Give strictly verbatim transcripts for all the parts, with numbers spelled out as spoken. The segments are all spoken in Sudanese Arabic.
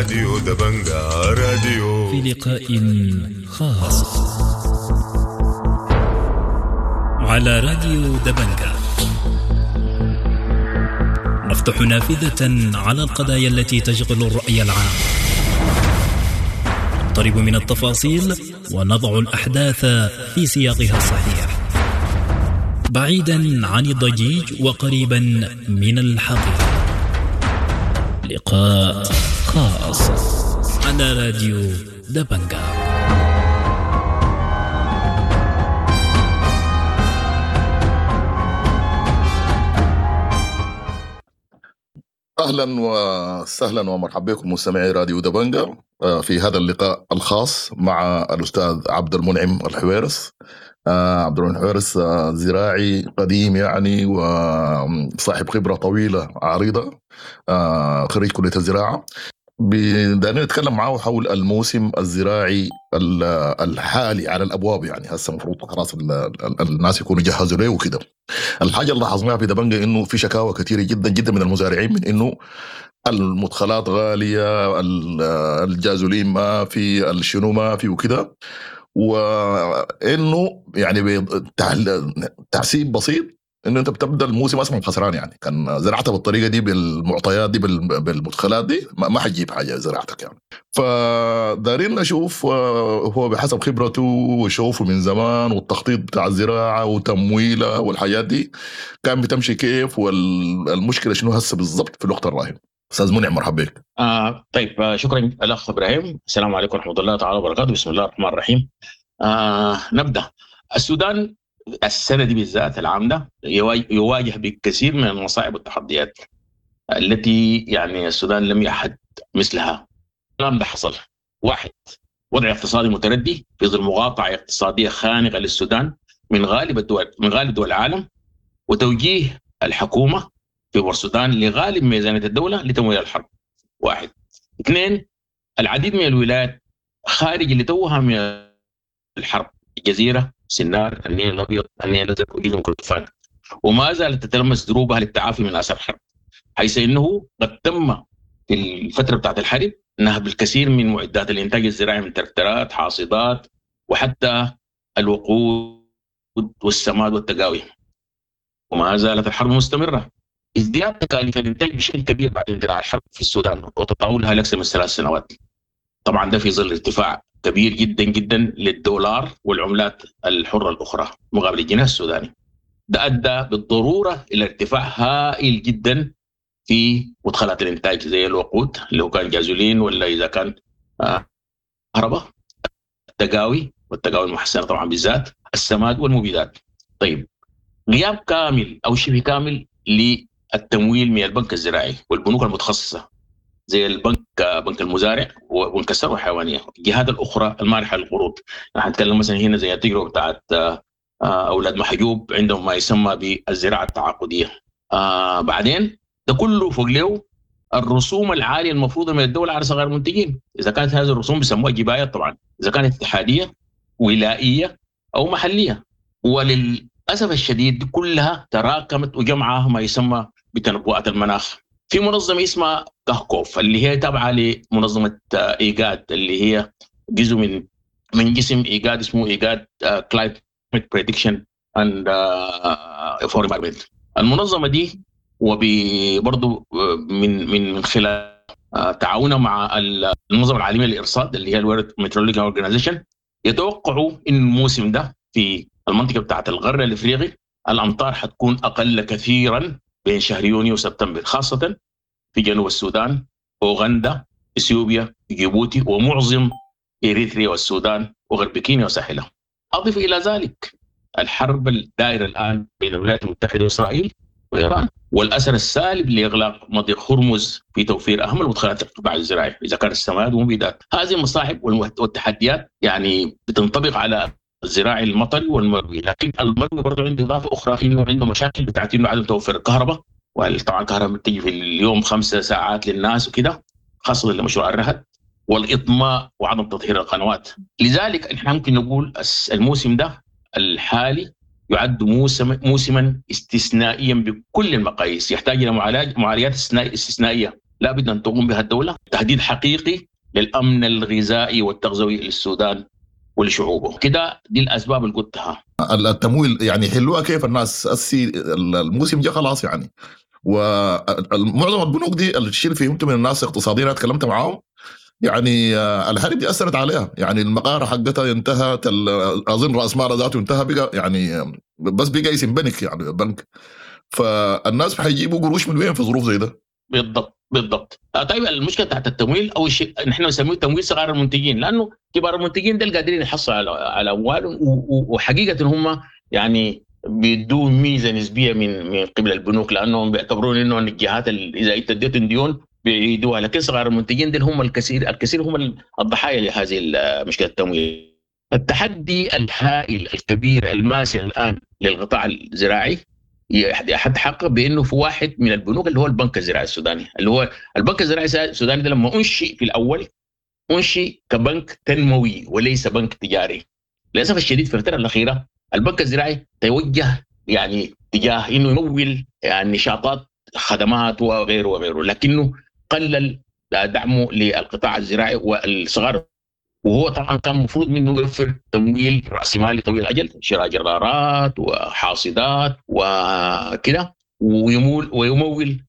راديو دبنجا راديو في لقاء خاص على راديو دبنجا نفتح نافذة على القضايا التي تشغل الرأي العام، نقترب من التفاصيل ونضع الأحداث في سياقها الصحيح، بعيدا عن الضجيج وقريبا من الحقيقة. لقاء خاص على راديو دبنجا. أهلا وسهلا ومرحبا بكم مستمعي راديو دبنجا في هذا اللقاء الخاص مع الأستاذ عبد المنعم الحويرس. عبد المنعم الحويرس زراعي قديم يعني وصاحب خبرة طويلة عريضة، خريج كلية الزراعة. بدنا نتكلم معه حول الموسم الزراعي الحالي على الأبواب، يعني هسه المفروض خلاص الناس يكونوا جهزوا له وكده. الحاجة اللي لاحظناها في دبنجا إنه في شكاوى كثيرة جدا جدا من المزارعين من إنه المدخلات غالية، الجازولين ما في، الشنو ما في وكده، وإنه يعني بتحسيب بسيط إنه أنت بتبدأ الموسم أصلا خسران. يعني كان زرعتها بالطريقة دي بالمعطيات دي بالمدخلات دي ما حتجيب حاجة زراعتك يعني. فدارين نشوف هو بحسب خبرته وشوفه من زمان والتخطيط بتاع الزراعة وتمويلها والحاجات دي كان بتمشي كيف، والمشكلة شنو هسه بالضبط في الوقت الراهن. أستاذ منعم مرحبا بك. آه طيب، شكرا الأخ إبراهيم. السلام عليكم ورحمة الله تعالى وبركاته. بسم الله الرحمن الرحيم. آه نبدأ. السودان السنة دي بالذات العام ده يواجه بكثير من المصاعب والتحديات التي يعني السودان لم يعهد مثلها. الكلام ده حصل: واحد، وضع اقتصادي متردي في ظل مقاطعة اقتصادية خانقة للسودان من غالب الدول من غالب دول العالم، وتوجيه الحكومة في بورسودان لغالب ميزانية الدولة لتمويل الحرب. واحد. اثنين، العديد من الولايات خارج اللي توها من الحرب، الجزيرة، سنار، النيل الأبيض، النيل الأزرق، وجزر كردفان، وما زالت تتلمس دروبها للتعافي من آثار الحرب، حيث أنه قد تم في الفترة بتاعت الحرب نهب الكثير من معدات الإنتاج الزراعي من تركترات، حاصدات، وحتى الوقود والسماد والتقاوي، وما زالت الحرب مستمرة. ازدياد تكاليف الإنتاج بشكل كبير بعد اندلاع الحرب في السودان وتطاولها لأكثر من ثلاث سنوات. طبعا ده في ظل ارتفاع كبير جدا جدا للدولار والعملات الحرة الأخرى مقابل الجنيه السوداني. ده أدى بالضرورة إلى ارتفاع هائل جدا في مدخلات الإنتاج زي الوقود اللي هو كان جازولين ولا إذا كان كهرباء، التقاوي والتقاوي المحسنة طبعا بالذات، السماد والمبيدات. طيب، غياب كامل أو شبه كامل للتمويل من البنك الزراعي والبنوك المتخصصة زي البنك بنك المزارع وبنك الثروة الحيوانية، الجهات الاخرى المانحه للقروض. نحن نتكلم مثلا هنا زي التجربة بتاعت اولاد محجوب، عندهم ما يسمى بالزراعة التعاقديه. آه بعدين ده كله فوق له الرسوم العالية المفروضة من الدولة على صغار المنتجين، اذا كانت هذه الرسوم بيسموها جبايه طبعا، اذا كانت اتحادية ولائيه او محليه. وللاسف الشديد كلها تراكمت وجمعها ما يسمى بتنبؤات المناخ. في منظمة اسمها كهكوف اللي هي تابعه لمنظمة ايجاد، اللي هي جزء من من جسم ايجاد اسمه ايجاد Climate Prediction and for Environment. المنظمة دي وبرضه من من من خلال تعاونها مع المنظمة العالمية للارصاد اللي هي ال World Meteorological Organization، يتوقعوا ان الموسم ده في المنطقة بتاعه الغرب الافريقي الامطار حتكون اقل كثيرا بين شهر يونيو وسبتمبر، خاصة في جنوب السودان، أوغندا، إثيوبيا، جيبوتي، ومعظم إريتريا والسودان وغرب كينيا وساحلها. أضف إلى ذلك الحرب الدائرة الآن بين الولايات المتحدة وإسرائيل وإيران، والأثر السالب لإغلاق مضيق هرمز في توفير أهم المدخلات للقطاع الزراعي إذا كان السماد والمبيدات. هذه المصاعب والتحديات يعني بتنطبق على الزراعي المطري والمروي، لكن المروي برضه عنده اضافه اخرى انه عنده مشاكل بتاعت انه عدم توفر الكهرباء، وطبعا الكهرباء بتيجي في اليوم خمسة ساعات للناس وكده، خاصة لمشروع الرهد والاطماء وعدم تطهير القنوات. لذلك احنا ممكن نقول الموسم ده الحالي يعد موسم موسما استثنائيا بكل المقاييس، يحتاج الى معالجات استثنائية لابد ان تقوم بها الدولة، تهديد حقيقي للامن الغذائي والتغذوي للسودان ولشعوبه. كده دي الاسباب اللي قلتها. التمويل يعني حلوها كيف الناس السي الموسم جا خلاص يعني، ومعظم البنوك دي الشيء اللي فهمته من الناس اقتصاديين انا تكلمت معاهم يعني الحرب دي اثرت عليها، يعني المقاره حقتها انتهت، اظن راس مالها ذاته انتهى، بقى يعني بس بقى اسم بنك يعني بنك، فالناس حيجيبوا قروش من وين في ظروف زي ده؟ بالضبط بالضبط. طيب المشكلة تحت التمويل، اول شيء نحن نسميه تمويل صغار المنتجين، لانه كبار المنتجين دول قادرين يحصلوا على على اموالهم، وحقيقة هم يعني بيدوا ميزة نسبيه من من قبل البنوك، لانهم بيعتبرون انه الجهات اذا انت اديتهم ديون بيعيدوها، لكن صغار المنتجين دول هم الكثير الكثير هم الضحايا لهذه مشكلة التمويل. التحدي الهائل الكبير الماسع الان للقطاع الزراعي يتحقق بانه في واحد من البنوك اللي هو البنك الزراعي السوداني، اللي هو البنك الزراعي السوداني ده لما انشئ في الاول انشئ كبنك تنموي وليس بنك تجاري. للاسف الشديد في الفترة الاخيرة البنك الزراعي توجه يعني تجاه انه يمول يعني نشاطات خدمات وغيره وغيره، لكنه قلل دعمه للقطاع الزراعي والصغار، وهو طبعا كان المفروض منه يوفر تمويل راسمالي طويل الاجل، شراء جرارات وحاصدات وكده، ويمول ويمول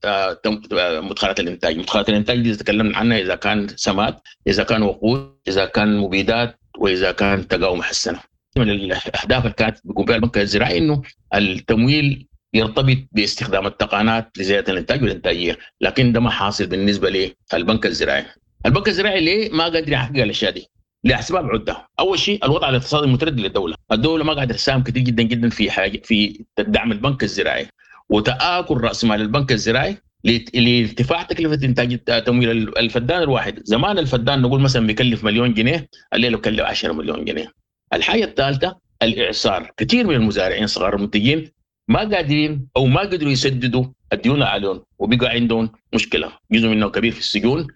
مدخلات الانتاج. مدخلات الانتاج دي تكلمنا عنها، اذا كان سماد، اذا كان وقود، اذا كان مبيدات، واذا كان تقاوم محسنة. من الاهداف اللي كانت بيقوم بها البنك الزراعي انه التمويل يرتبط باستخدام التقنيات لزيادة الانتاج والانتاجية، لكن ده ما حاصل بالنسبة للبنك الزراعي. البنك الزراعي ليه ما قادر يحقق الاشياء دي؟ لاسباب عده. اول شيء الوضع الاقتصادي المتردي للدولة، الدولة ما قاعدة تساهم كثير جدا جدا في حاجة في دعم البنك الزراعي، وتآكل راس مال البنك الزراعي لارتفاع تكلفة انتاج تمويل الفدان الواحد. زمان الفدان نقول مثلا بيكلف مليون جنيه، الليلة بيكلف عشرة مليون جنيه. الحاجة الثالثة الاعصار، كثير من المزارعين صغار المنتجين ما قادرين او ما قدروا يسددوا الديون عليهم، وبقى عندهم مشكلة، جزء منهم كبير في السجون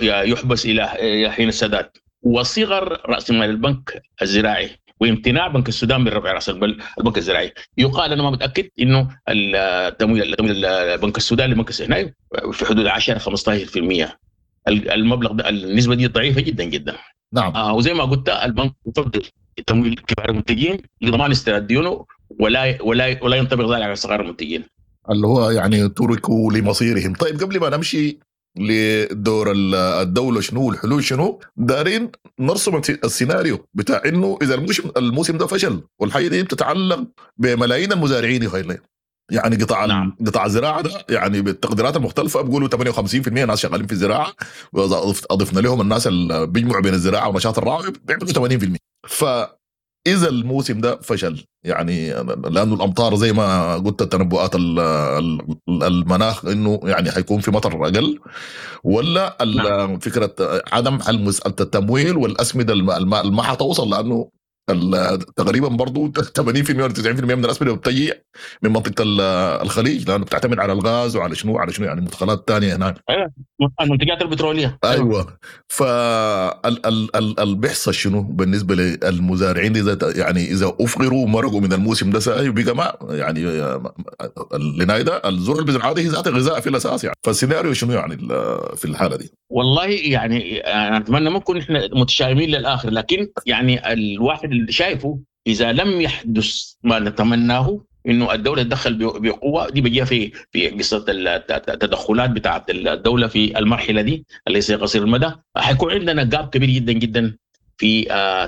يحبس الى حين السداد. وصغر راس مال البنك الزراعي وامتناع بنك السودان من رفع راس البنك الزراعي. يقال انا ما متاكد انه التمويل تمويل بنك السودان لبنك السودان في حدود عشرة خمسة عشر بالمئة. المبلغ ده النسبة دي ضعيفة جدا جدا. نعم. آه وزي ما قلت البنك يفضل تمويل كبار المنتجين لضمان استرداد ديونه، ولا ولا ولا ينطبق ذلك على صغار المنتجين اللي هو يعني تركوا لمصيرهم. طيب قبل ما نمشي لدور الدولة شنو والحلول شنو، دارين نرسم السيناريو بتاع انه اذا الموسم الموسم ده فشل، والحاجة دي بتتعلق بملايين المزارعين يا خير، يعني قطاع نعم. قطاع الزراعة ده يعني بالتقديرات المختلفة بيقولوا ثمانية وخمسين بالمئة ناس شغالين في الزراعة، واضفنا لهم الناس اللي بيجمعوا بين الزراعة ونشاط الرعي بيعملوا ثمانين بالمئة. فاذا الموسم ده فشل يعني لانه الامطار زي ما قلت التنبؤات المناخ انه يعني حيكون في مطر اقل، ولا نعم. فكرة عدم حل مسالة التمويل والاسمده ما حتوصل، لانه تقريبا برضو ثمانين بالمئة ولا تسعين بالمئة من الاسمده بتجي من منطقة الخليج، لانه بتعتمد على الغاز وعلى شنو على شنو يعني مدخلات ثانية هناك. ايوه المنتجات البتروليه. ايوه فال بيحصل شنو بالنسبة للمزارعين اذا يعني اذا افقروا ومرقوا من الموسم ده ساي وبقى ما يعني لنايدا الزرع اللي بيزرعها هي ذات غذاء في الاساس يعني، فالسيناريو شنو يعني في الحالة دي؟ والله يعني انا اتمنى ما نكون احنا متشائمين للاخر، لكن يعني الواحد اللي شايفه اذا لم يحدث ما نتمناه انه الدولة تدخل بقوة، دي بيجيها في في قصة التدخلات بتاعه الدولة في المرحلة دي اللي هي قصير المدى، حيكون عندنا جاب كبير جدا جدا في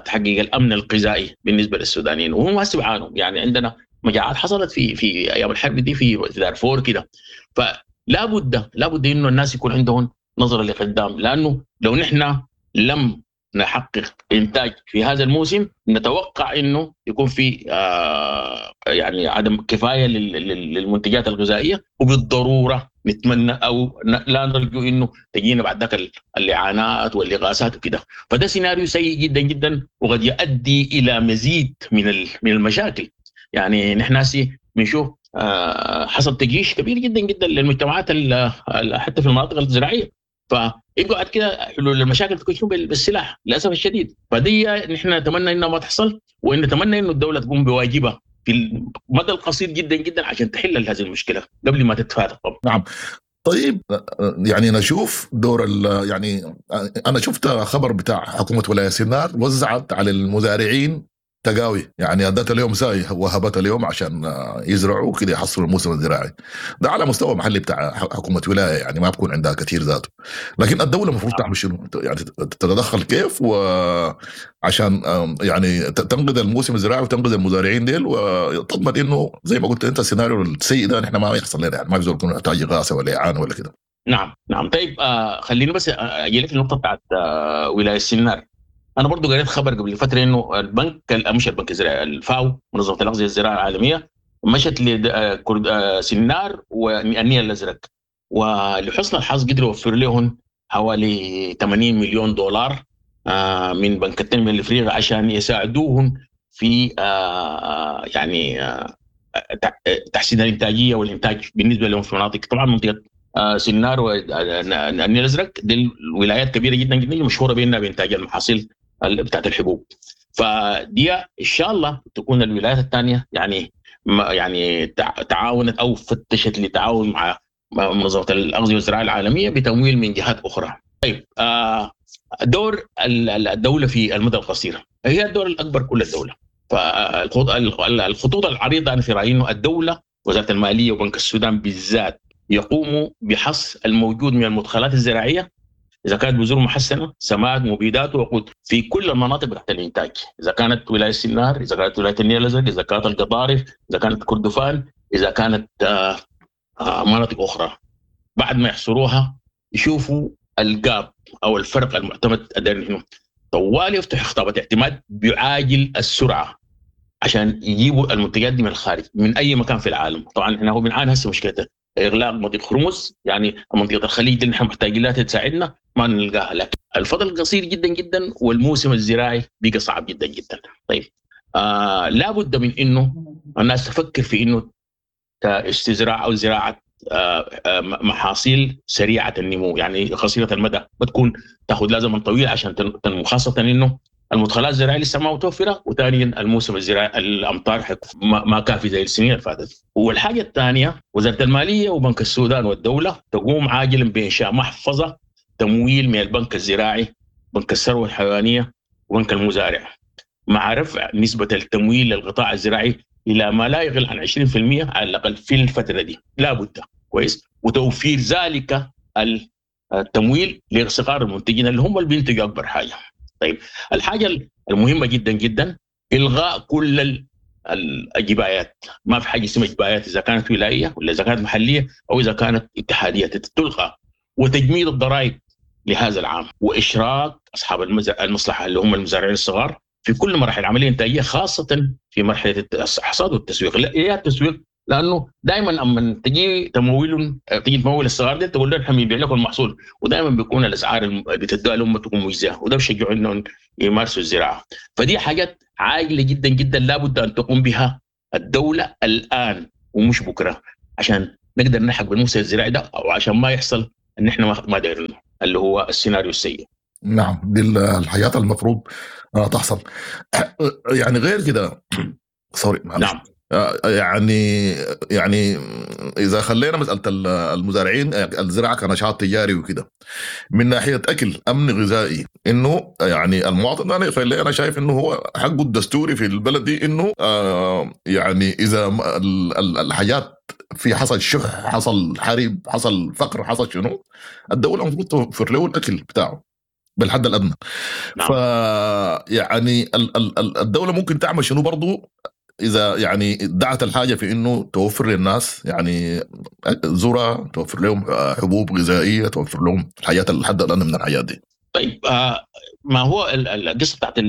تحقيق الامن الغذائي بالنسبة للسودانيين، وهم هسه بيعانوا. يعني عندنا مجاعات حصلت في في ايام الحرب دي في دارفور كده، فلا بد لا بد انه الناس يكون عندهم نظره لقدام، لانه لو نحن لم نحقق انتاج في هذا الموسم نتوقع انه يكون في آه يعني عدم كفاية للمنتجات الغذائية، وبالضروره نتمنى او لا نرجو انه تجينا بعد ذاك الاعانات والاغاثات وكده. فده سيناريو سيء جدا جدا وقد يؤدي الى مزيد من من المشاكل. يعني نحن هسه بنشوف آه حصل تجيش كبير جدا جدا للمجتمعات حتى في المناطق الزراعية، فيبقى كده حلول المشاكل تكون بالسلاح للاسف الشديد. فدي نحن نتمنى انها ما تحصل، وان نتمنى انه الدولة تقوم بواجبها في المدى القصير جدا جدا عشان تحل هذه المشكلة قبل ما تتفاقم. نعم. طيب يعني نشوف دور يعني انا شفت خبر بتاع حكومة ولاية سنار وزعت على المزارعين تقاوي، يعني ادت اليوم ساي وهبت اليوم عشان يزرعوا كده يحصلوا الموسم الزراعي ده على مستوى محلي بتاع حكومة ولاية، يعني ما بكون عندها كثير ذاته. لكن الدولة المفروض تعمل شنو؟ يعني تتدخل كيف وعشان يعني تنقذ الموسم الزراعي وتنقذ المزارعين ديل، وتضمن انه زي ما قلت انت السيناريو السيء ده نحن ما يحصل لنا، يعني ما بيزول يكون يحتاج اغاثه ولا اعانه ولا كده. نعم نعم. طيب آه خليني بس اجي لك النقطة بتاعت آه ولاية السنار. انا برضو قريت خبر قبل فترة انه البنك مش البنك الزراعي، الفاو منظمة الاغذية الزراعية العالمية مشت لسنار والنيل الازرق، ولحسن الحظ قدروا يوفر لهم حوالي ثمانين مليون دولار من بنك التنمية الافريقي عشان يساعدوهم في يعني تحسين الانتاجية والانتاج بالنسبة لهم في مناطق، طبعا منطقة سنار والنيل الازرق دي الولايات كبيرة جدا جدا مشهورة بانها بانتاج المحاصيل بتاعت الحبوب. فدي ان شاء الله تكون الولايات الثانية يعني يعني تعاونت او فتشت لتعاون مع منظمة الاغذية والزراعة العالمية بتمويل من جهات اخرى. طيب دور الدولة في المدى القصير هي الدور الاكبر كل الدولة. فالخطوط العريضة انا في رايي انه الدولة وزارة المالية وبنك السودان بالذات يقوموا بحصر الموجود من المدخلات الزراعية، اذا كانت بذور محسنة، سماد، مبيدات، وقود في كل المناطق تحت الانتاج، اذا كانت ولاية السنار، اذا كانت ولاية النيل الازرق، اذا كانت القضارف، اذا كانت كردفان، اذا كانت آه آه مناطق اخرى. بعد ما يحصروها يشوفوا الجاب او الفرق المعتمد هنا، طوال يفتح خطابات اعتماد بعاجل السرعة عشان يجيبوا المنتجات دي من الخارج من اي مكان في العالم. طبعا احنا هو بنعاني هسه مشكلته اغلاق مضيق هرمز، يعني منطقة الخليج دي نحن محتاجين لها تساعدنا ما نلقاها، لكن الفضل قصير جدا جدا والموسم الزراعي بقى صعب جدا جدا. طيب آه لابد من انه الناس تفكر في انه استزراع او زراعة آه آه محاصيل سريعة النمو، يعني قصيرة المدى، بتكون تاخذ لها زمن طويل عشان تنمو، خاصة انه المدخلات الزراعية لسه ما متوفرة، وثانيا الموسم الزراعي الامطار ما كافي زي السنين اللي فاتت. والحاجة الثانية وزارة المالية وبنك السودان والدولة تقوم عاجلا بانشاء محفظة تمويل من البنك الزراعي، بنك الثروة الحيوانية، وبنك المزارع، مع رفع نسبه التمويل للقطاع الزراعي الى ما لا يقل عن عشرين بالمئة على الاقل في الفترة دي، لا بد كويس، وتوفير ذلك التمويل لصغار المنتجين اللي هم اللي بينتجوا اكبر حاجة. طيب الحاجة المهمة جدا جدا الغاء كل الجبايات، ما في حاجة اسمها جبايات اذا كانت ولاية ولا اذا كانت محليه او اذا كانت اتحادية، تلغى، وتجميد الضرائب لهذا العام، واشراك اصحاب المصلحة اللي هم المزارعين الصغار في كل مراحل العملية الانتاجية، خاصة في مرحلة الحصاد والتسويق. لا يا التسويق، لانه دائما اما تجي تمويل تجي تمول الصغار دي تقول لهم احنا بنبيع لكم المحصول، ودائما بيكون الاسعار اللي بتدوها لهم تكون مجزية، وده بيشجعوا انهم يمارسوا الزراعة. فدي حاجات عاجله جدا جدا لابد ان تقوم بها الدولة الان ومش بكره، عشان نقدر نلحق بالموسم الزراعي ده، او عشان ما يحصل ان احنا ما دايرينه اللي هو السيناريو السيء. نعم، دي الحياة المفروض تحصل. يعني غير كده سوري معلش. نعم. يعني يعني اذا خلينا مسالة المزارعين الزراعة كنشاط تجاري وكده، من ناحية اكل امن غذائي، انه يعني المواطن انا انا شايف انه هو حقه الدستوري في البلد دي، انه يعني اذا الحاجات في حصل شح، حصل حرب، حصل فقر، حصل شنو، الدولة المفروض توفر له الاكل بتاعه بالحد الادنى. نعم. ف يعني الدولة ممكن تعمل شنو برضو إذا يعني دعت الحاجة في إنه توفر للناس يعني ذرة، توفر لهم حبوب غذائية، توفر لهم الحياة الحد الأدنى من الحياة دي. طيب آه ما هو القصة بتاعت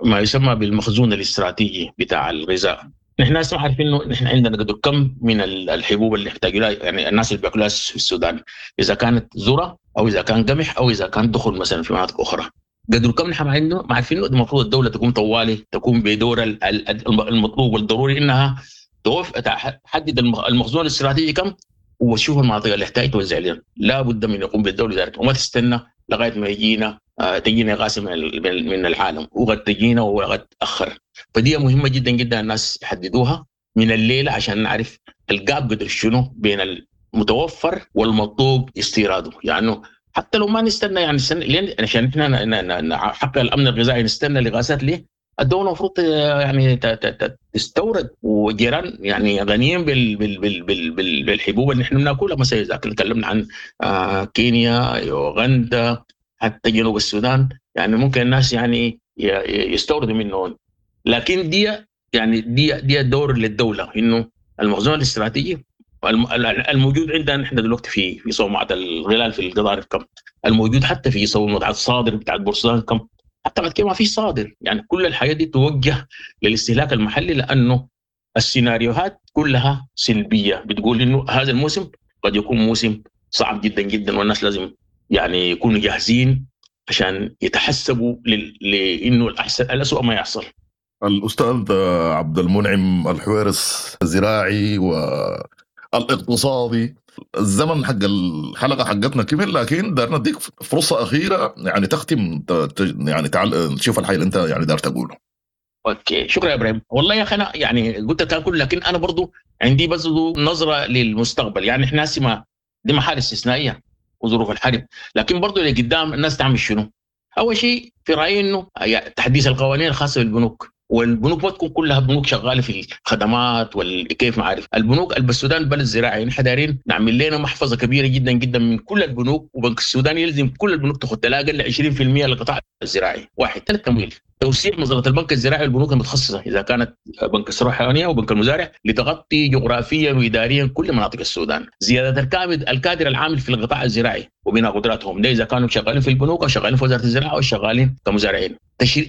ما يسمى بالمخزون الاستراتيجي بتاع الغذاء. نحن هسه عارفين إنه نحن عندنا قدر كم من الحبوب اللي نحتاج لها، يعني الناس اللي بياكلوها في السودان، إذا كانت ذرة أو إذا كان قمح أو إذا كان دخل مثلا في مناطق أخرى. قدر كم نحن عندنا ما عارفين. المفروض الدولة تقوم طوالي تقوم بدور المطلوب والضروري انها توف تحدد المخزون الاستراتيجي كم، وتشوف المناطق اللي تحتاج توزع لنا. لا بد من يقوم بالدولة ذلك، وما تستنى لغاية ما يجينا تجينا اغاثه من من العالم، وقد تجينا وقد تاخر. فدي مهمة جدا جدا الناس يحددوها من الليلة عشان نعرف الجاب قدر شنو بين المتوفر والمطلوب استيراده. يعني حتى لو ما نستنى يعني نستنى لين عشان احنا نحقق الامن الغذائي نستنى لغازات ليه؟ الدولة المفروض يعني تستورد، وجيران يعني غنيين بال بال بال بال بال بالحبوب اللي احنا بناكلها. مثلا اذا تكلمنا عن كينيا، يوغندا، حتى جنوب السودان، يعني ممكن الناس يعني يستوردوا منهم. لكن دي يعني دي دي دور للدولة، انه المخزون الاستراتيجي الموجود عندنا احنا دلوقتي في في صومعه الغلال في القضارف كم، الموجود حتى في صومعه الصادر بتاع بورسودان كم، حتى بعد كده ما في صادر. يعني كل الحياة دي توجه للاستهلاك المحلي، لانه السيناريوهات كلها سلبية بتقول انه هذا الموسم قد يكون موسم صعب جدا جدا، والناس لازم يعني يكونوا جاهزين عشان يتحسبوا لانه الاحسن الاسوء ما يحصل. الاستاذ عبد المنعم الحويرس، الزراعي والاقتصادي، الزمن حق الحلقة حقتنا كمل، لكن دارنا نديك فرصة اخيرة يعني تختم يعني تعال تشوف الحاجة اللي انت يعني دار تقوله. okay، شكرا يا ابراهيم. والله يا اخي انا يعني قلت الكلام كله، لكن انا برضو عندي بس نظره للمستقبل. يعني احنا هسه دي محال استثنائية وظروف الحرب، لكن برضو اللي قدام الناس تعمل شنو؟ اول شيء في رايي انه تحديث القوانين الخاصة بالبنوك، والبنوك ما تكون كلها بنوك شغالة في الخدمات والكيف ما عارف. البنوك السودان بلد زراعي، نحن دايرين نعمل لنا محفظة كبيرة جدا جدا من كل البنوك، وبنك السودان يلزم كل البنوك تاخذ لا اقل عشرين بالمئة للقطاع الزراعي. واحد. ثلاث، تمويل، توسيع مظلة البنك الزراعي والبنوك المتخصصة اذا كانت بنك الثروة الحيوانية وبنك المزارع لتغطي جغرافيا واداريا كل مناطق السودان. زيادة الكادر الكادر العامل في القطاع الزراعي وبناء قدراتهم، ده اذا كانوا شغالين في البنوك او شغالين في وزارة الزراعة او شغالين كمزارعين.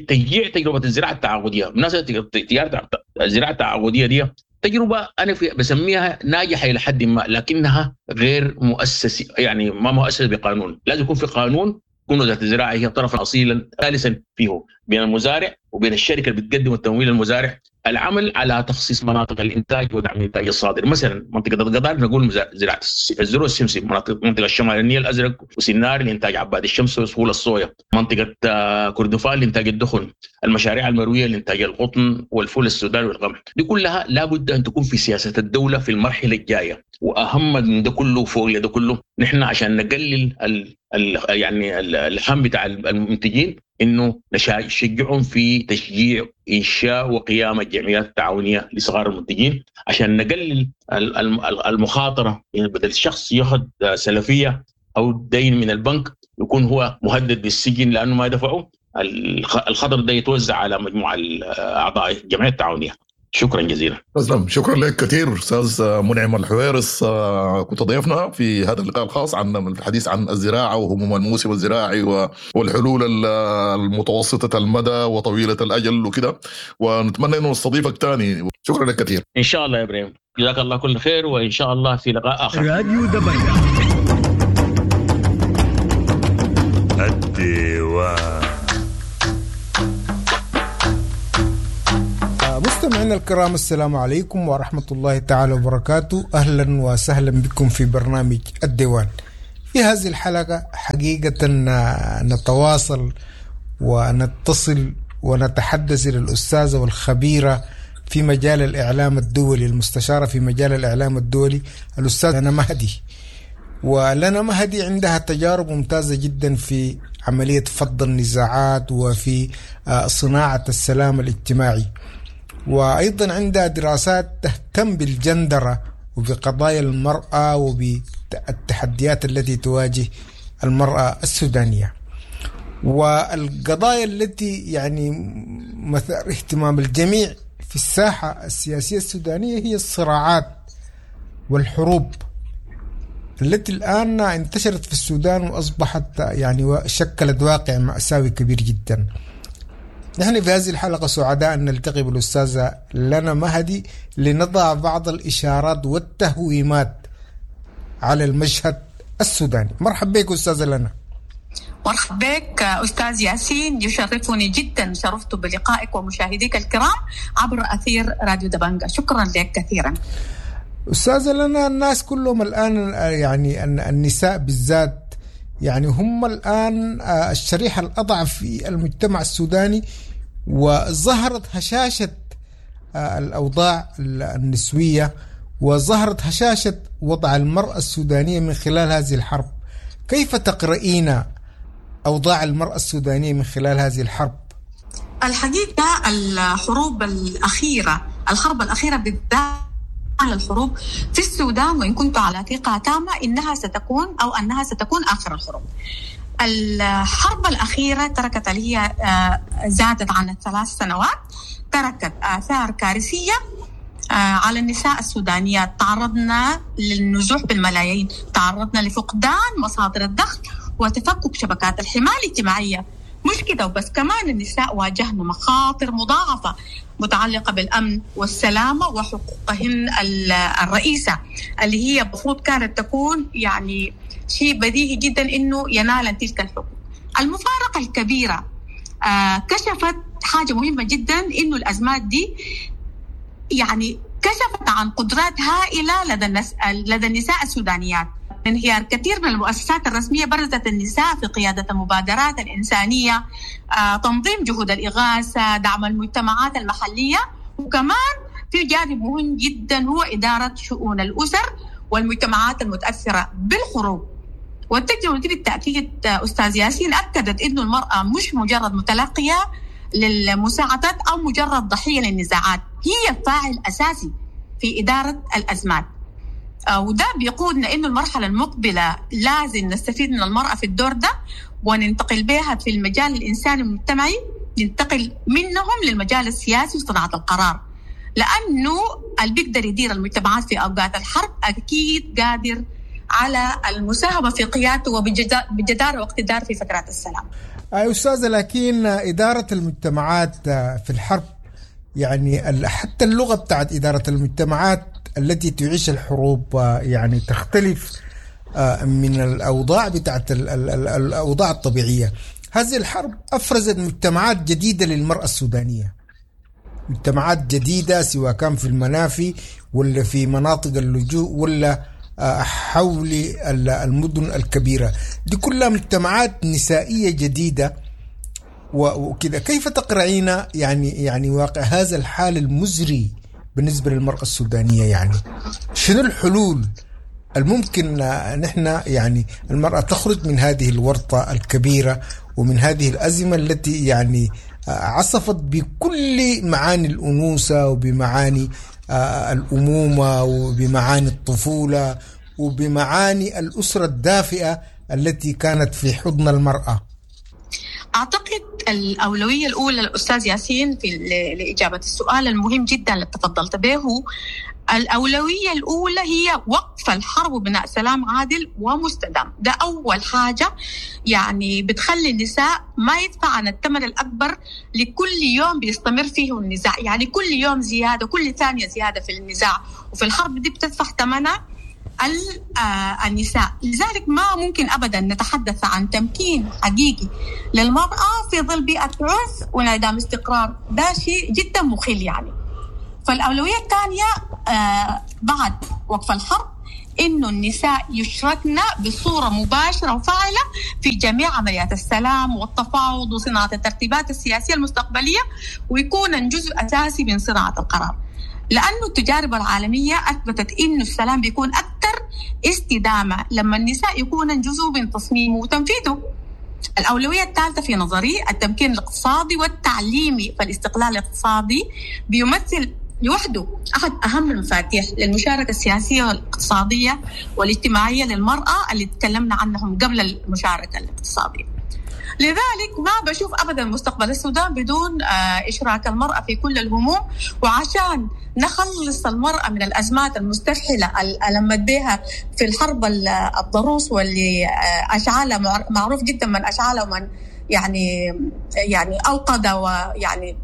تشجيع تجربه الزراعة التعاقديه، بالمناسبة تجارة الزراعة التعاقديه دي تجربه انا في بسميها ناجحة الى حد ما، لكنها غير مؤسسة، يعني ما مؤسسة بقانون. لازم يكون في قانون تكون وزارة الزراعة هي طرفا اصيلا ثالثا فيه بين المزارع وبين الشركة اللي بتقدم التمويل للمزارع. العمل على تخصيص مناطق الانتاج ودعم الانتاج الصادر، مثلا منطقة القضارف نقول زراعة الذرة السمسم، مناطق منطقة الشمال النيل الازرق وسنار لانتاج عباد الشمس وسهول الصويا، منطقة كردفان لانتاج الدخن، المشاريع المروية لانتاج القطن والفول السوداني والقمح. دي كلها لابد ان تكون في سياسة الدولة في المرحلة الجاية. واهم من ده كله فوق ده كله نحن عشان نقلل ال ال يعني الهم بتاع المنتجين، انه نشجعهم في تشجيع انشاء وقيام الجمعيات التعاونية لصغار المنتجين عشان نقلل المخاطرة. يعني بدل الشخص ياخذ سلفية او دين من البنك يكون هو مهدد بالسجن لانه ما دفعه، الخطر ده يتوزع على مجموعة اعضاء الجمعية التعاونية. شكرا جزيلا. تسلم، شكرا لك كثير استاذ منعم الحويرس، كنت ضيفنا في هذا اللقاء الخاص عن الحديث عن الزراعة وهموم الموسم الزراعي والحلول المتوسطة المدى وطويلة الاجل وكده، ونتمنى انه نستضيفك ثاني. شكرا لك كثير. ان شاء الله يا ابراهيم، جزاك الله كل خير، وان شاء الله في لقاء اخر. راديو دبنجا الديوان. مستمعينا الكرام، السلام عليكم ورحمة الله تعالى وبركاته. أهلا وسهلا بكم في برنامج الديوان. في هذه الحلقة حقيقة نتواصل ونتصل ونتحدث إلى الأستاذة والخبيرة في مجال الإعلام الدولي، المستشارة في مجال الإعلام الدولي، الأستاذة لنا مهدي. ولنا مهدي عندها تجارب ممتازة جدا في عملية فض النزاعات وفي صناعة السلام الاجتماعي، وأيضا عندها دراسات تهتم بالجندرة وبقضايا المرأة وبالتحديات التي تواجه المرأة السودانية، والقضايا التي يعني مثار اهتمام الجميع في الساحة السياسية السودانية هي الصراعات والحروب التي الآن انتشرت في السودان وأصبحت يعني شكلت واقع مأساوي كبير جدا. نحن في هذه الحلقة سعداء أن نلتقي بالأستاذة لنا مهدي لنضع بعض الإشارات والتهويمات على المشهد السوداني. مرحبا بك أستاذة لنا. مرحبا بك أستاذ ياسين، يشرفني جدا، شرفت بلقائك ومشاهديك الكرام عبر أثير راديو دبنجا. شكرا لك كثيرا أستاذة لنا. الناس كلهم الآن يعني النساء بالذات يعني هم الآن الشريحة الأضعف في المجتمع السوداني، وظهرت هشاشة الأوضاع النسوية وظهرت هشاشة وضع المرأة السودانية من خلال هذه الحرب. كيف تقرأين أوضاع المرأة السودانية من خلال هذه الحرب؟ الحقيقة الحروب الأخيرة، الحرب الأخيرة بالذات على الحروب في السودان، وإن كنت على ثقة تامة إنها ستكون أو أنها ستكون آخر الحروب. الحرب الأخيرة تركت اللي هي زادت عن الثلاث سنوات، تركت آثار كارثية على النساء السودانيات. تعرضنا للنزوح بالملايين، تعرضنا لفقدان مصادر الدخل وتفكك شبكات الحماية الاجتماعية. مش كده وبس، كمان النساء واجهن مخاطر مضاعفة متعلقة بالأمن والسلامة وحقوقهن الرئيسة اللي هي المفروض كانت تكون يعني شيء بديهي جدا إنه ينال تلك الحقوق. المفارقة الكبيرة آه كشفت حاجة مهمة جدا، إنه الأزمات دي يعني كشفت عن قدرات هائلة لدى لدى النساء السودانيات. انهيار كثير من المؤسسات الرسمية برزت النساء في قيادة المبادرات الإنسانية، آه، تنظيم جهود الإغاثة، دعم المجتمعات المحلية، وكمان في جانب مهم جدا هو إدارة شؤون الأسر والمجتمعات المتأثرة بالحروب. والتجربة دي بالتأكيد أستاذ ياسين أكدت إنه المرأة مش مجرد متلقية للمساعدات أو مجرد ضحية للنزاعات، هي فاعل أساسي في إدارة الأزمات. وده بيقودنا إنه المرحلة المقبلة لازم نستفيد من المرأة في الدور ده وننتقل بها في المجال الإنساني المجتمعي، ننتقل منهم للمجال السياسي وصناعة القرار، لأنه اللي بيقدر يدير المجتمعات في أوقات الحرب أكيد قادر على المساهمة في قيادته وبجدارة واقتدار في فترات السلام. أي أستاذة، لكن إدارة المجتمعات في الحرب يعني حتى اللغة بتاعت إدارة المجتمعات التي تعيش الحروب يعني تختلف من الأوضاع بتاعت الأوضاع الطبيعية. هذه الحرب أفرزت مجتمعات جديدة للمرأة السودانية، مجتمعات جديدة سواء كان في المنافي ولا في مناطق اللجوء ولا حول المدن الكبيرة، دي كلها مجتمعات نسائية جديدة وكذا. كيف تقرأين يعني يعني واقع هذا الحال المزري بالنسبة للمرأة السودانية؟ يعني شنو الحلول الممكن نحن يعني المرأة تخرج من هذه الورطة الكبيرة ومن هذه الأزمة التي يعني عصفت بكل معاني الأنوثة وبمعاني الأمومة وبمعاني الطفولة وبمعاني الأسرة الدافئة التي كانت في حضن المرأة؟ أعتقد الأولوية الأولى الأستاذ ياسين في لإجابة السؤال المهم جدا اللي تفضلت به، الأولوية الأولى هي وقف الحرب وبناء سلام عادل ومستدام. ده أول حاجة يعني بتخلي النساء ما يدفع عن الثمن الأكبر لكل يوم بيستمر فيه النزاع، يعني كل يوم زيادة، كل ثانية زيادة في النزاع وفي الحرب دي بتدفع ثمنها النساء. لذلك ما ممكن أبدا نتحدث عن تمكين حقيقي للمرأة في ظل بيئة عنف وانعدام استقرار، ده شيء جدا مخل يعني. فالأولوية الثانية آه بعد وقف الحرب إنه النساء يشركن بصورة مباشرة وفاعلة في جميع عمليات السلام والتفاوض وصناعة الترتيبات السياسية المستقبلية، ويكون جزء أساسي من صناعة القرار، لأنه التجارب العالمية أثبتت إنه السلام بيكون أكثر استدامة لما النساء يكون جزء من تصميمه وتنفيذه. الأولوية الثالثة في نظري التمكين الاقتصادي والتعليمي، فالاستقلال الاقتصادي بيمثل لوحده أحد أهم المفاتيح للمشاركة السياسية والاقتصادية والاجتماعية للمرأة اللي تكلمنا عنهم قبل المشاركة الاقتصادية. لذلك ما بشوف أبدا مستقبل السودان بدون إشراك المرأة في كل الهموم، وعشان نخلص المرأة من الأزمات المستفحلة اللي ألمت بها في الحرب الضروس واللي أشعلها، معروف جدا من أشعلها ومن يعني يعني أوقد ويعني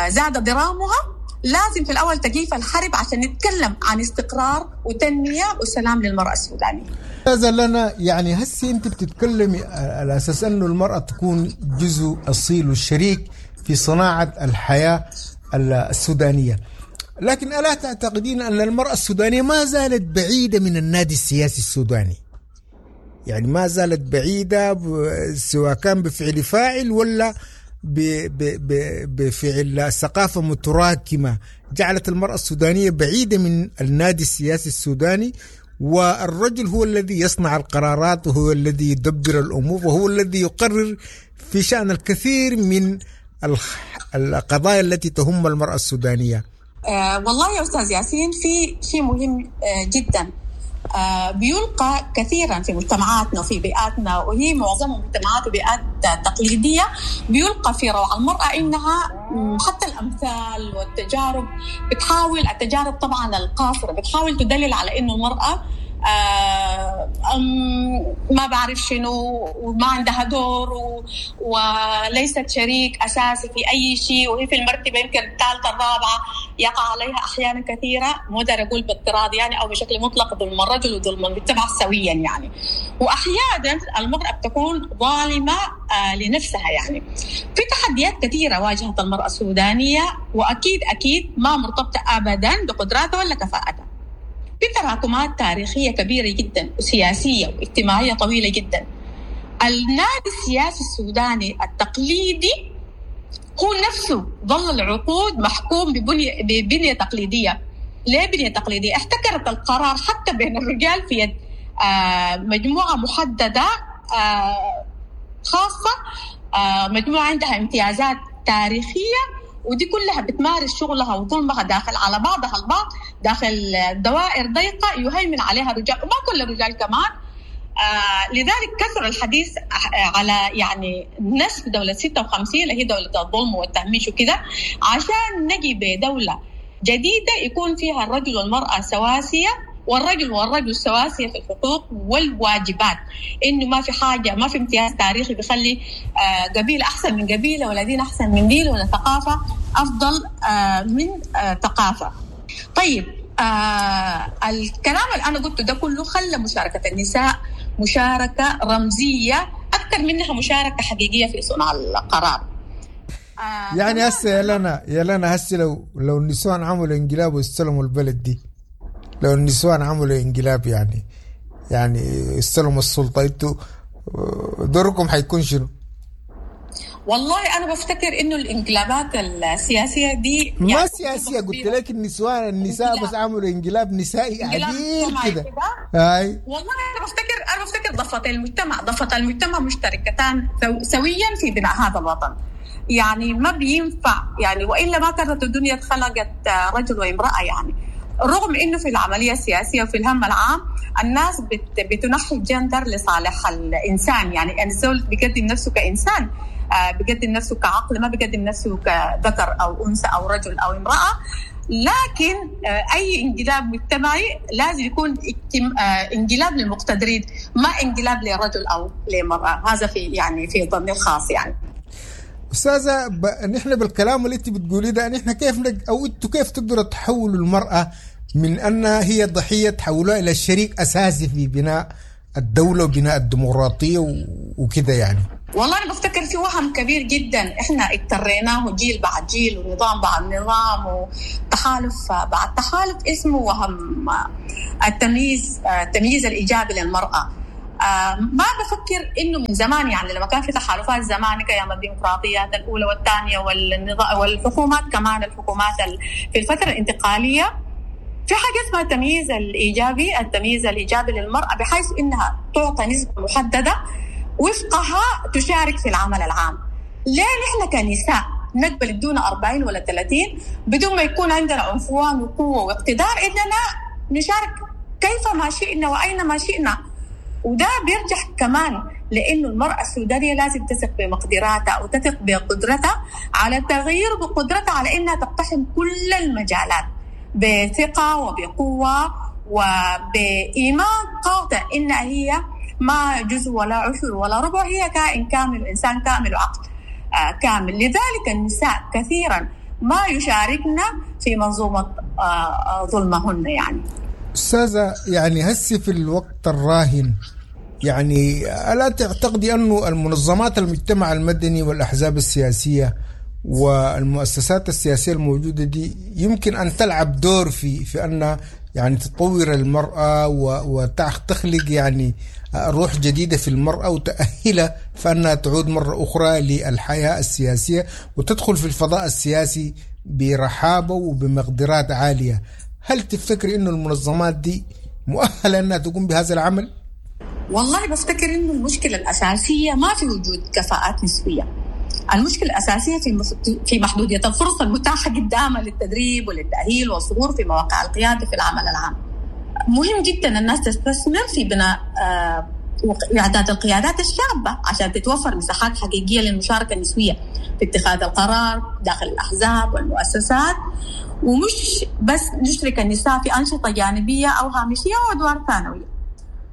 زاد درامها، لازم في الأول تكييف الحرب عشان نتكلم عن استقرار وتنمية وسلام للمرأة السودانية. هذا لنا يعني هسي أنت بتتكلمي على أساس أنه المرأة تكون جزء أصيل والشريك في صناعة الحياة السودانية، لكن ألا تعتقدين أن المرأة السودانية ما زالت بعيدة من النادي السياسي السوداني؟ يعني ما زالت بعيدة سواء كان بفعل فاعل ولا بفعل ثقافة متراكمة جعلت المرأة السودانية بعيدة من النادي السياسي السوداني، والرجل هو الذي يصنع القرارات وهو الذي يدبر الأمور وهو الذي يقرر في شأن الكثير من القضايا التي تهم المرأة السودانية؟ آه والله يا أستاذ ياسين في شيء مهم آه جدا آه بيلقى كثيرا في مجتمعاتنا وفي بيئاتنا، وهي معظمها مجتمعات وبيئات تقليدية، بيلقى في روع المرأة إنها حتى الأمثال والتجارب بتحاول، التجارب طبعا القاصرة بتحاول تدلل على إنه المرأة آه ما بعرف شنو وما عندها دور و... وليست شريك أساسي في أي شيء، وهي في المرتبة يمكن الثالثة الرابعة، يقع عليها أحيانا كثيرة، مو أقدر أقول باضطراد يعني أو بشكل مطلق ظلم الرجل وظلم المجتمع سويا يعني. وأحيانا المرأة بتكون ظالمة آه لنفسها يعني. في تحديات كثيرة واجهت المرأة السودانية، وأكيد أكيد ما مرتبطة أبدا بقدراتها ولا كفاءتها. في تراكمات تاريخية كبيرة جدا وسياسية واجتماعية طويلة جدا. النادي السياسي السوداني التقليدي هو نفسه ظل العقود محكوم ببنية, ببنية تقليدية. ليه بنية تقليدية؟ احتكرت القرار حتى بين الرجال في يد آه مجموعة محددة آه خاصة، آه مجموعة عندها امتيازات تاريخية، ودي كلها بتمارس شغلها وظلمها داخل على بعضها البعض داخل دوائر ضيقة يهيمن عليها الرجال، وما كل الرجال كمان. آه لذلك كثر الحديث على يعني نسف دولة ستة وخمسين اللي هي دولة الظلم والتهميش وكده، عشان نجي بدولة جديدة يكون فيها الرجل والمرأة سواسية، والرجل والرجل سواسية في الحقوق والواجبات، إنه ما في حاجة، ما في امتياز تاريخي بيخلي آه قبيلة أحسن من قبيلة، ولا دين أحسن من دين، ولا ثقافة أفضل آه من آه ثقافة. طيب آه الكلام اللي أنا قلته ده كله خلى مشاركة النساء مشاركة رمزية أكثر منها مشاركة حقيقية في صنع القرار. آه يعني هسه يا لنا يا لنا هسه لو لو النسوان عملوا انقلاب واستلموا البلد دي، لو النسوان عملوا انقلاب يعني يعني استلموا السلطة، انتوا دوركم حيكون شنو؟ والله أنا بفتكر إنه الانقلابات السياسية دي ما يعني سياسية، قلت لك النسوان النساء بس عملوا انقلاب نسائي عديل كده. هاي والله أنا بفتكر أنا بفتكر ضفتي المجتمع ضفتا المجتمع مشتركتان سويا في بناء هذا الوطن. يعني ما بينفع يعني، وإلا ما كانت الدنيا اتخلقت رجل وامرأة يعني. رغم إنه في العملية السياسية وفي الهم العام الناس بت بتنحي الجندر لصالح الإنسان، يعني الزول بيقدم نفسه كإنسان، بيقدم نفسه كعقل، ما بيقدم نفسه كذكر أو أنثى أو رجل أو امرأة. لكن أي انقلاب مجتمعي لازم يكون انقلاب للمقتدرين، ما انقلاب لرجل أو لمرأة. هذا في يعني في ظني الخاص يعني. أستاذة ب... نحن بالكلام اللي أنت بتقوليه ده، نحن كيف نج... أو أنتوا كيف تقدروا تحولوا المرأة من أنها هي ضحية تحولوها إلى شريك أساسي في بناء الدولة وبناء الديمقراطية و... وكده يعني؟ والله أنا بفتكر في وهم كبير جدا إحنا اضطريناه جيل بعد جيل ونظام بعد نظام وتحالف بعد تحالف، اسمه وهم التمييز، التمييز الإيجابي للمرأة. ما بفكر إنه من زمان يعني لما كان في تحالفات زمان كأيام الديمقراطيات الأولى والثانية والنظام والحكومات كمان، الحكومات في الفترة الانتقالية في حاجة اسمها التمييز الإيجابي، التمييز الإيجابي للمرأة بحيث إنها تعطى نسبة محددة وفقها تشارك في العمل العام. ليه نحن كنساء نقبل دون أربعين ولا ثلاثين بدون ما يكون عندنا عنفوان وقوة واقتدار إننا نشارك كيفما شئنا وأينما شئنا؟ وده بيرجع كمان لأنه المرأة السودانية لازم تثق بمقدراتها وتثق بقدرتها على التغيير، وبقدرتها على إنها تقتحم كل المجالات بثقة وبقوة وبإيمان قاطع إنها هي ما جزء ولا عشر ولا ربع، هي كائن كامل وإنسان كامل وعقل كامل. لذلك النساء كثيرا ما يشاركن في منظومة ظلمهن يعني. أستاذة يعني هسي في الوقت الراهن يعني ألا تعتقدي أنه المنظمات المجتمع المدني والأحزاب السياسية والمؤسسات السياسية الموجودة دي يمكن أن تلعب دور في في أن يعني تطور المرأة وتخلق يعني روح جديدة في المرأة وتأهلها فأنها تعود مرة أخرى للحياة السياسية وتدخل في الفضاء السياسي برحابة وبمقدرات عالية. هل تفتكر أنه المنظمات دي مؤهلة أنها تقوم بهذا العمل؟ والله بفتكر أنه المشكلة الأساسية ما في وجود كفاءات نسوية. المشكلة الأساسية في في محدودية الفرص المتاحة قدامها للتدريب وللتأهيل والظهور في مواقع القيادة في العمل العام. مهم جدا الناس تستثمر في بناء وإعداد القيادات الشابة عشان تتوفر مساحات حقيقية للمشاركة النسوية في اتخاذ القرار داخل الأحزاب والمؤسسات، ومش بس نشرك النساء في أنشطة جانبية أو هامشية وأدوار ثانوية.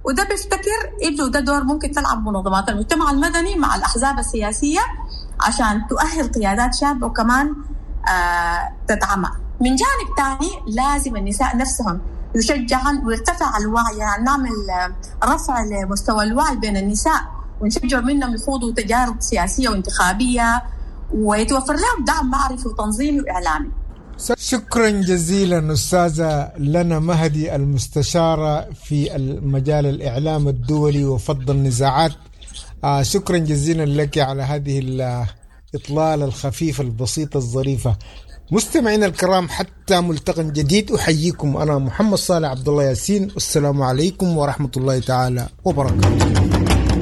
وده بفتكر إنه ده دور ممكن تلعب منظمات المجتمع المدني مع الأحزاب السياسية عشان تؤهل قيادات شابة وكمان آه تدعمها. من جانب تاني لازم النساء نفسهم يشجعن ويرتفع الوعي، يعني نعمل رفع لمستوى الوعي بين النساء ونشجع منهم يخوضوا تجارب سياسية وانتخابية ويتوفر لهم دعم معرفي وتنظيمي وإعلامي. شكرا جزيلا أستاذة لنا مهدي، المستشارة في المجال الإعلام الدولي وفض النزاعات. آه شكرا جزيلا لك على هذه الإطلالة الخفيفة البسيطة الظريفة. مستمعينا الكرام، حتى ملتقى جديد أحييكم أنا محمد صالح عبد الله ياسين، والسلام عليكم ورحمة الله تعالى وبركاته.